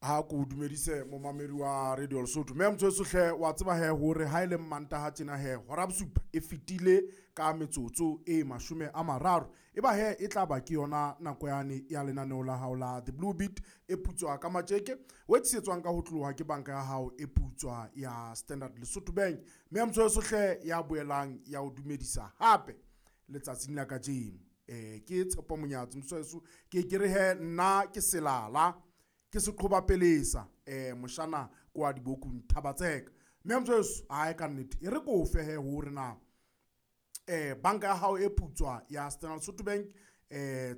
Ha ko dumedise momamedi wa Radio Lesotho. Mme motho hle wa tseba he hore ha ile Mantaha tjena he hora bosupa e fetile ka metsotso e 30. E ba he e tla ba ke yona nako yane ya lenaneo la hao la The Blue Beat e putswa ka matjeke, o tsetswang ka ho tloha ke banka ya hao e putswa ya Standard Lesotho Bank. Mme motho hle ya boelang ya o dumedisa hape letsatsing la kajeno. Ke Tshepo Monyatsi motho ke re he nna ke selala ke seqhoba pelesa moshana kwa dibokung Thabatseka. Mme motho hae ka nnete e re ko fe he hore na banka ya hao e putswa ya Standard Lesotho Bank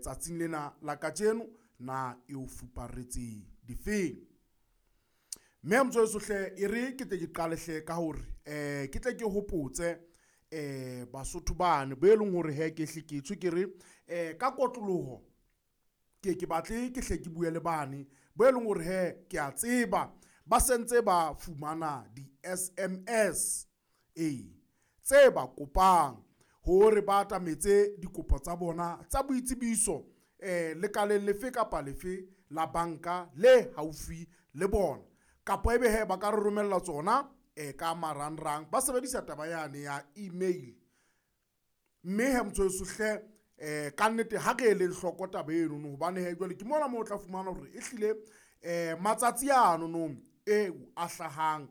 tsatsing lena la kajeno na e o fuparetse difeng. Mme motho hle e re ke tle ke qale hle ka hore ke tle ke hopotse Basotho bane bo e leng hore he ke hle ke tswe ke re ka kotloloho ke batle ke hle ke bue le bane bo e leng hore he ke a tseba ba sentse ba fumana di-SMS tse ba kopang hore ba atametse dikopo tsa bona tsa boitsebiso lekaleng lefe kapa lefe la banka le haufi le bona, kapa ebe he ba ka re romella tsona ka marangrang ba sebedisa taba yane ya email. Mme he motho hle ka nnete ha re eleng hloko taba eno hobane he jwale ke mona moo o tla fumana hore e hlile matsatsi ano no eo a hlahang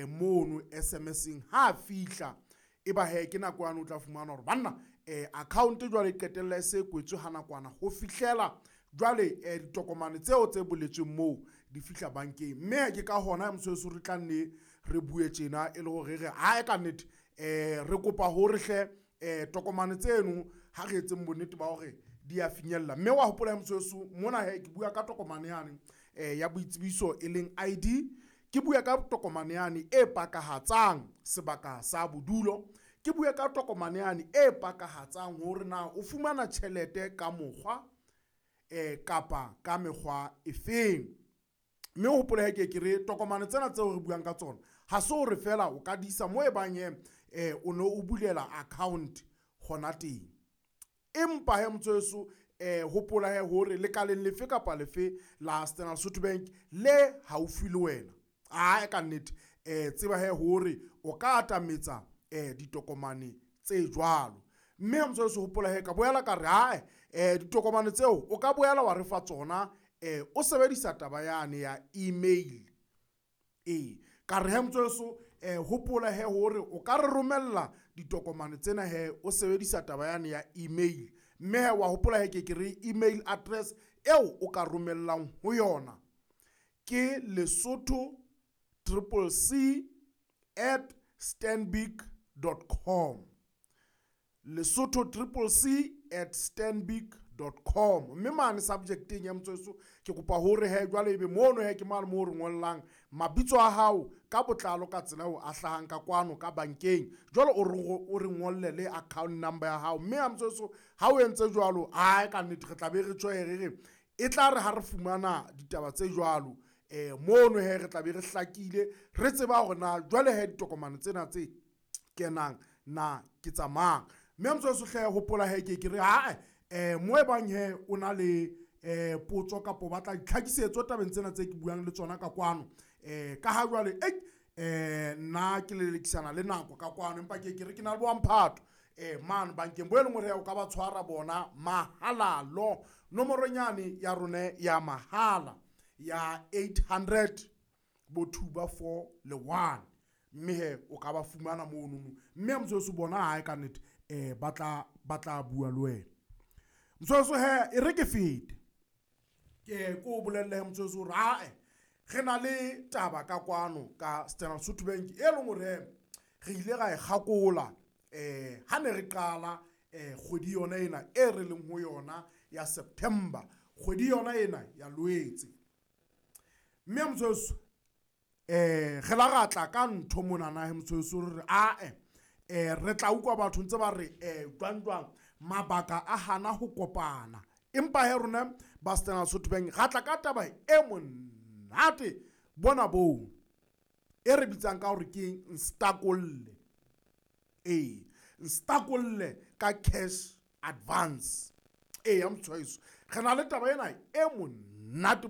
mono SMS-eng ha fihla e ba he ke nako yane o tla fumana hore banna account jwale e qetella e se kwetswe ha nakwana ho fihlela jwale ditokomane tseo tse boletsweng moo di fihla bankeng. Mme ke ka hona motho re tla nne re bue tjena e le hore re ha ka nnete re kopa hore hle tokomane tseno ha re etseng bonnete ba hore di a finyella. Mme wa hopola motho mona he ke bua ka tokomane yane ya boitsebiso e leng ID, ke bua ka tokomane yane e pakahatsang sebaka sa bodulo, ke bua ka tokomane yane e pakahatsang hore na o fumana tjhelete ka mokgwa kapa ka mekgwa efeng. Mme o hopole he ke re tokomane tsena tseo re buang ka tsona ha se hore fela o ka di isa mo e bang he o no o bulela account hona teng, empa he motho hopola he hore lekaleng lefe kapa lefe la Standard Lesotho Bank le haufi le wena a ka nnete tseba he hore o ka atametsa ditokomane tse jwalo. Mme motho hopola he ka boela ka re hae ditokomane tseo o ka boela wa re fa tsona o sebedisa taba yane ya email. Ka re he motho hopola he hore o ka re romella ditokomane tsena he o sebedisa taba yane ya email. Mme he wa hopola he ke re email address eo o ka romellang ho yona ke lesothoccc@stanbic.com, lesothoccc@stanbic.com. Mme mane subjecteng ya motho ke kopa hore he jwale ebe mono he ke mane moo re ngollang mabitso a hao ka botlalo ka tsela eo a hlahang ka kwano ka bankeng, jwale o re ngolle le account number ya hao. Mme ha motho ha o entse jwalo hae ka nnete re tla be re tjho re e tla re ha re fumana ditaba tse jwalo mono he re tla be re hlakile re tseba hore na jwale he ditokomane tsena tse kenang na ke tsa mang. Mme motho hle hopola he ke re hae mo e bang he o na le potso kapa o batla ditlhakisetso tabeng tsena tse ke buang le tsona ka kwano ka ha jwale nna ke lelekisana le nako ka kwano, empa ke re ke na le boamphato mane bankeng bo e leng hore o ka ba tshwara bona mahala lo nomorong yane ya rona ya mahala ya 800 bo 2 ba 4 le 1, mme he o ka ba fumana mono. Mme motho bona hae ka nnete ba tla bua le wena. Motho he e re ke fete ke ko bolelle he motho hore hae re na le taba ka kwano ka Standard Lesotho Bank e leng hore re ile ra e kgakola ha ne re qala kgwedi yona ena e re leng ho yona ya September, kgwedi yona ena ya Loetse. Mme motho re la ra tla ka ntho monana he motho re ae re tla utlwa batho ntse ba re jwang jwang mabaka a hana ho kopana, empa he rona ba Standard Lesotho Bank ra tla ka taba e monate bona boo e re bitsang ka hore ke nstakolle. Nstakolle ka cash advance. Ya motho re na le taba ena e monate.